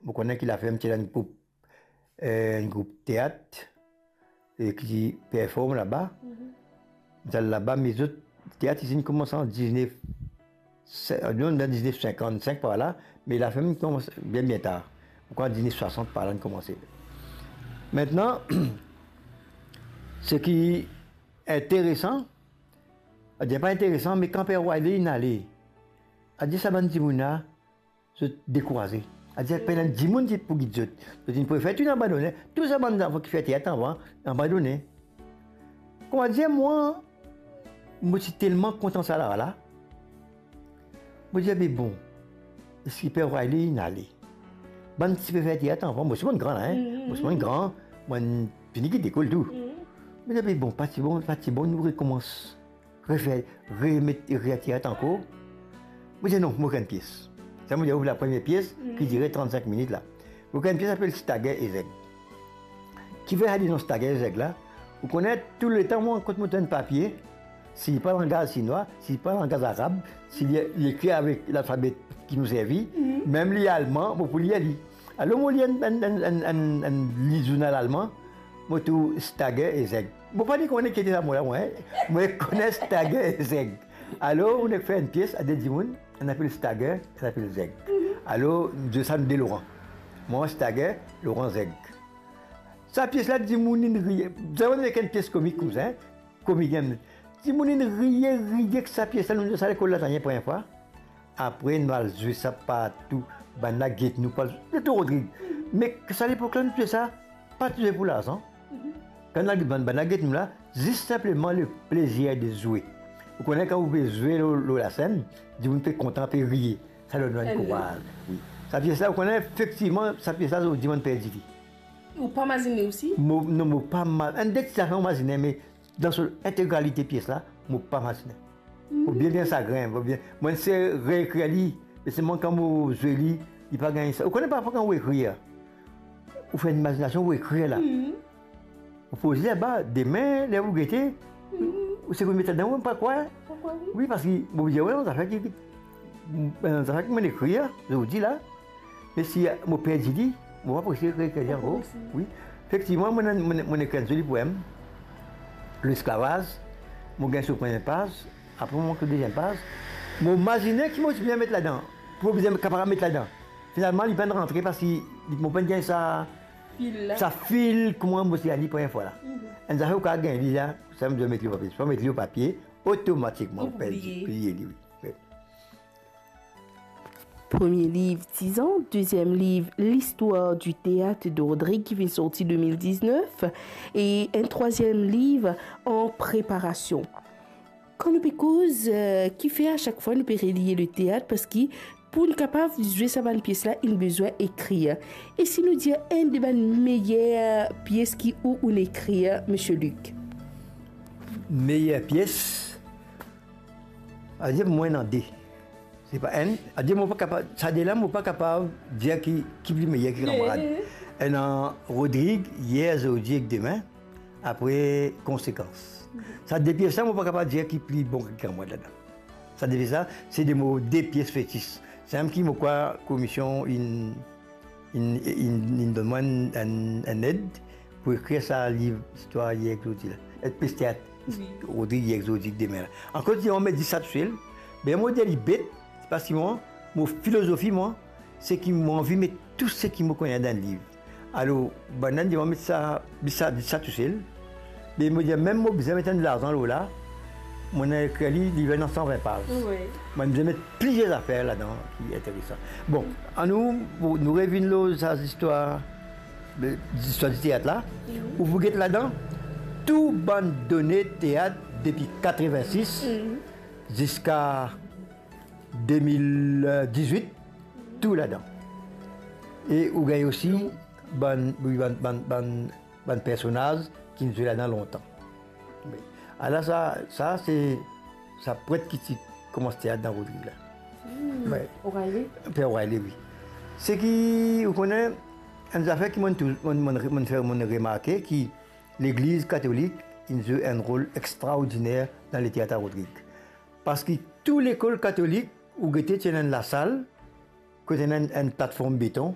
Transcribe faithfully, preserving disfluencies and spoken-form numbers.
Mo kone ki laferm ti ena enn group, eh, enn group teat, eh, ki perform laba. Mhm. Mo ti al laba, me zot teat isi inn koumans an diznef, se-, non, dan diznef sinkant sink par la, me laferm inn koumans bien, bien tar. Mo krwar diznef swasant par la inn koumanse. Aster, seki interesan, aster pa interesan, me kan Per Wiley inn ale, aster sa bann dimoun la, zot dekouraze. Aster pena dimoun ki pou gid zot. Zot inn prefer tou abandone. Tou sa bann zanfan ki fer teat avan, abandone. Kouma dir mwa, mo ti telman kontan sa la, la. Mo dir, "Be bon, eski Per Wiley inn ale?" Bann ti pe fer teat avan, mo ti bann gran la, hein. Mhm. Mo ti bann gran, mo fini kit lekol tou. Mhm. Mo dir, "Be bon, pa ti bon, pa ti bon, nou rekoumans." Refer, remet, retir ankor. Mo dir, "Non, mo kree enn pies." Sa mo dir, ouv lapremier pies, ki dire trant-sink minit la. Mo kree enn pies apel Stagger e Zeg. Kifer sa dir non Stagger e Zeg la? Ou kone, touletan mwa, kan mo trouv enn papie, si li pa langaz sinwa, si li pa langaz arab, si li, li ekri avek lalfabe ki nou servi, mem li alman, mo pou lir li. Alor, mo lir enn, enn, enn, enn, enn, enn li zournal alman, mo trouv Stagger e Zeg. Mo pa ni kone ki ete sa mo la, mwa, hein. Mo kone Stagger e Zeg. Alor, nou fer enn pies a de dimoun, enn apel Stagger, enn apel Zeg. Alor, nou dir sa nou de Loran. Mwa Stagger, Loran Zeg. Sa pies la, dimoun inn riye. Zame mo ena enn pies komik koumsa, hein. Komik, hein. Dimoun inn riye, riye ek sa pies la, nou dir sa lekol la, sa enn premie fwa. Apre, nou al zwe sa partou. Bann la get nou, pou al zwe tou Rodrig. Me sa lepok la, nou zwe sa, pa ti zwe pou larzan. Kan nou al bann, bann la get nou la, zis sinpleman le plezir de zwe. Ou kone kan ou pe zwe lor, lor lasenn, dimoun pe kontan, pe riye. Sa donn nou enn kouraz. Wi. Sa pies la, ou kone, efektivman, sa pies la, ou dir mo perdi li. Ou pa mazine osi? Mo, non, mo pa ma-, enn de ti zafer mo mazine, me dan so integralite pies la, mo pa mazine. Mo bien, bien sagrin, mo bien. Mo inn sey reekrir li, me selman kan mo zwe li, li pa gagn sa. Ou kone parfwa kan ou ekrir, ou fer enn imazinasion, ou ekrir la. Ou poz li laba, dime, ler ou gete, ou seki ou met ladan, ou pa krwar. Pa krwar, wi. Wi, parski mo dir, wi, zafer ki, ki, zafer ki mo ekrir, zordi la, me si mo perdi li, mo pa pou esey reekrir li ankor. Wi. Efektivman, mo, mo, mo ekrir enn zoli poem, Lesklavaz, mo gagn so premie paz, apre mo mank so deziem paz. Mo mazine ki mo ti bizin met ladan, pou mo bizin kapav met ladan. Finalman, li pa'nn rantre parski li, mo pa'nn gagn sa, fil la. Sa fil, kouma mo ti al li premie fwa la. Enn zafer ou kapav gagn li la, sa mo bizin met li lor papie. Si pa met li lor papie, otomatikman ou perdi, bliye li, wi. Premie liv, Tizan. Deziem liv, L'histoire du théâtre de Rodrigue, ki finn sorti de mil diznef. E enn trwaziem liv an preparasion. Kan nou pe koz, eh, kifer a sak fwa nou pe reliye leteat, parski pou nou kapav zwe sa bann pies la, inn bizin ekrir. E si nou dir enn de bann meyer pies ki ou, ou'nn ekrir, Misie Luc? Meyer pies, aster mo ena de. Se pa enn, aster mo pa kapav, sa de la, mo pa kapav dir ki, ki pli meyer ki Kanmarad. Ena Rodrig, Yer, Zordi ek Demin, apre Konsekans. Sa de pies la, mo pa kapav dir ki pli bon ki Kanmarad ladan. Sa de pies la, se de mo de pies fetis. Samem ki mo krwar komisyon inn inn, inn, inn donn mwa enn, enn, enn ed pou ekrir sa liv Listwar Yer ek Zordi la, eh, pies teat, wi, Rodrig, Yer ek Zordi ek Demin la. Akoz mo met zis sa tousel, be mo dir li bet, se parski mwa, mo filozofi mwa, se ki mo anvi met tou seki mo kone dan liv. Alor, bann la dir mwa met sa, zis sa, zis sa tousel. Me mo dir, mem mo bizin met enn larzan lor la, mo ena ekrir li, li vinn san vin paz. Wi. Mo bizin met plizier zafer ladan ki interesan. Bon, anou, nou, nou revinn lor sa zistwar, zistwar diteat la. Mhm. Ou pou get ladan tou bann done teat depi katrevinsis, mhm, ziska de mil dizwit, tou ladan. E ou gagn osi bann, wi, bann, bann, bann, bann personaz ki finn zwe ladan lontan. Ala sa, sa se sa pret ki ti koumans teat dan Rodrig la. Hmm. Wi. O'Reilly? Per O'Reilly, wi. Seki, ou kone, enn zafer ki mo tou, mo, mo, mo fer, mo remarke ki Legliz Katolik inn zwe enn rol extraordiner dan leteat a Rodrig. Parski tou lekol katolik, ou gete, ti ena enn lasal, kot ena enn, enn platform beton,